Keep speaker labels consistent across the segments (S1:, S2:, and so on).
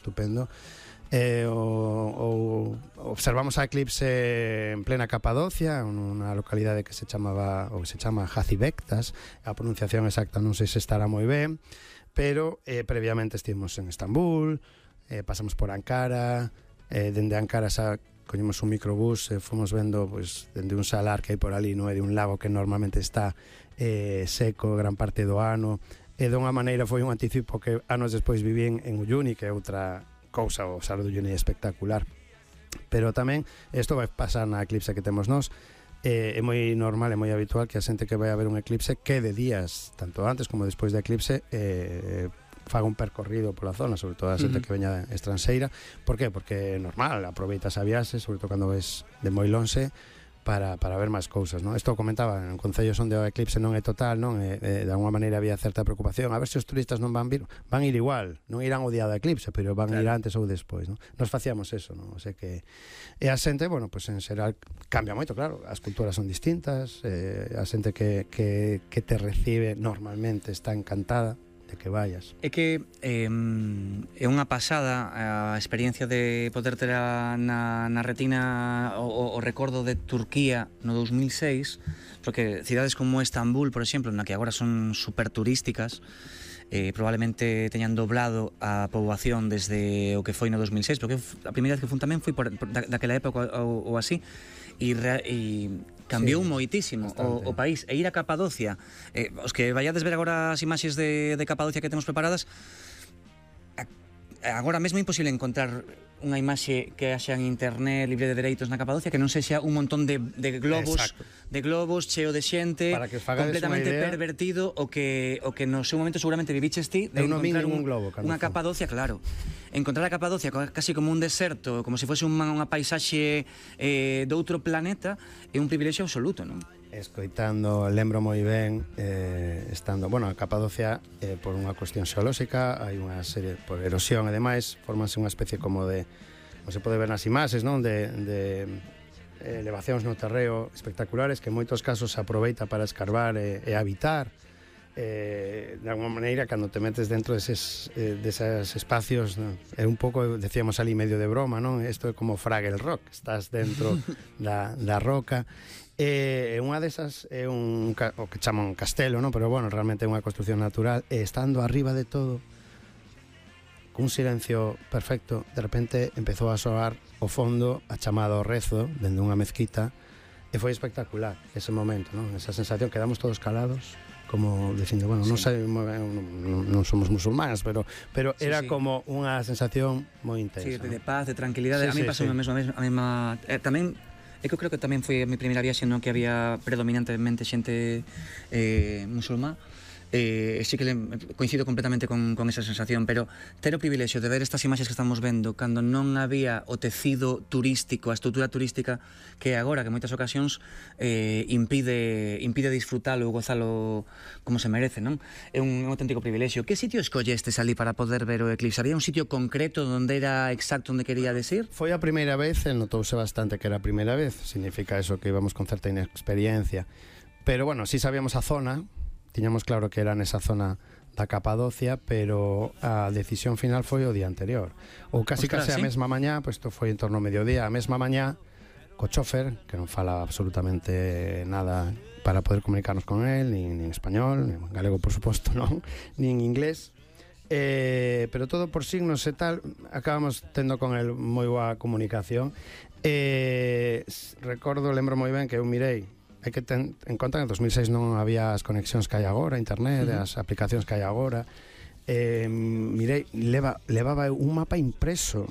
S1: estupendo. Observamos a eclipse en plena Capadocia, nunha localidade que se chama Jacibectas. A pronunciación exacta non sei se estará moi ben, pero previamente estivemos en Estambul, pasamos por Ankara, dende Ankara coñemos un microbús, fomos vendo pues, dende un salar que hai por ali, no é de un lago que normalmente está seco gran parte do ano, e dunha maneira foi un anticipo que anos despois vivín en Uyuni, que é outra cousa, o Sar do Uyuni é espectacular. Pero tamén isto vai pasar na eclipse que temos nós. É moi normal, é moi habitual que a xente que vai a ver un eclipse quede días, tanto antes como despois da eclipse, faga un percorrido pola zona, sobre todo a xente que veña estranxeira. Por qué? Porque é normal, aproveitas a viaxe, sobre todo cando ves de moi lonxe, para ver máis cousas, non? Isto comentaba, en concellos onde o eclipse non é total, non? De alguma maneira había certa preocupación, a ver se os turistas non van ir igual, non irán o día do eclipse, pero van ir antes ou despois, non? Nos facíamos eso, non? O sea que e a xente, bueno, pues en xeral cambia moito, claro, as culturas son distintas, a xente que te recibe normalmente está encantada de que vayas.
S2: É que é unha pasada a experiencia de poder ter na retina o recordo de Turquía no 2006, porque cidades como Estambul, por exemplo, na que agora son super turísticas, probablemente teñan doblado a poboación desde o que foi no 2006, porque a primeira vez que fun tamén foi daquela época ou así, e cambiou moitísimo o país. E ir a Capadocia, os que vayades ver agora as imaxes de Capadocia que temos preparadas, agora mesmo é imposible encontrar unha imaxe que haxa en internet libre de dereitos na Capadocia que non sexa un montón de globos cheo de xente, completamente pervertido, o que no seu momento seguramente viviches ti de encontrar unha Capadocia, claro, encontrar a Capadocia casi como un deserto, como se fose unha paisaxe de outro planeta, é un privilexio absoluto, non?
S1: Escoitando, lembro moi ben estando, bueno, a Capadocia por unha cuestión xeolóxica, hai unha serie por erosión e demais, formanse unha especie como de, como se pode ver nas imaxes, non? De elevacións no terreo espectaculares que en moitos casos se aproveita para escarbar e habitar. De alguma maneira, cando te metes dentro deses espacios, non? É un pouco, decíamos ali medio de broma, non? Isto é como Fraggle Rock, estás dentro da roca. Unha desas é o que chaman castelo, non? Pero bueno, realmente é unha construción natural, e estando arriba de todo, cun silencio perfecto, de repente empezou a soar o fondo a chamada ao rezo dende unha mezquita, e foi espectacular ese momento, non? Esa sensación, quedamos todos calados, como dicindo, bueno, non sei, non somos musulmáns, pero era como unha sensación moi intensa.
S2: Sí, de paz, de tranquilidade. A mí pasou a mesma tamén. É que eu creo que tamén foi a mi primeira viaxe no que había predominantemente xente musulmá. Sí que coincido completamente con esa sensación, pero ter o privilexio de ver estas imaxes que estamos vendo cando non había o tecido turístico, a estrutura turística que agora, que en moitas ocasións impide disfrutalo ou gozalo como se merece, non? É un auténtico privilexio. Que sitio escollestes ali para poder ver o eclipse? Había un sitio concreto onde era exacto onde queríades ir?
S1: Foi a primeira vez, notouse bastante que era a primeira vez, significa eso que íbamos con certa inexperiencia, pero bueno, si sabíamos a zona, tiñamos claro que era nesa zona da Capadocia, pero a decisión final foi o día anterior, ou casi a mesma mañá, pois isto foi en torno ao mediodía, a mesma mañá, co chofer, que non fala absolutamente nada para poder comunicarnos con él, nin en español, nin en galego, por suposto, non, nin en inglés, pero todo por signos e tal, acabamos tendo con él moi boa comunicación. Lembro moi ben que eu mirei, hai que ten en conta que en 2006 non había as conexións que hai agora, internet, as aplicacións que hai agora. Mirei, levaba un mapa impreso,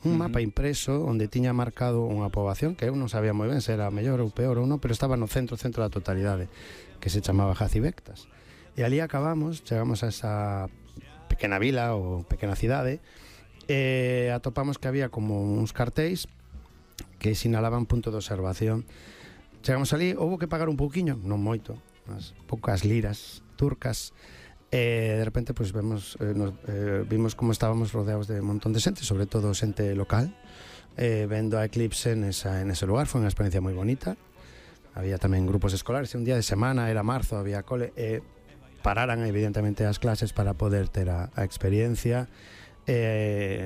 S1: onde tiña marcado unha poboación que eu non sabía moi ben se era mellor ou peor ou non, pero estaba no centro da totalidade, que se chamaba Jacibectas. E ali chegamos a esa pequena vila ou pequena cidade, e atopamos que había como uns cartéis que sinalaban punto de observación. Chegamos ali, houbo que pagar un pouquiño, non moito, unas poucas liras turcas, de repente pues, vimos como estábamos rodeados de un montón de xente, sobre todo xente local, vendo a eclipse nese lugar. Foi unha experiencia moi bonita. Había tamén grupos escolares, un día de semana, era marzo, había cole, pararan evidentemente as clases para poder ter a experiencia.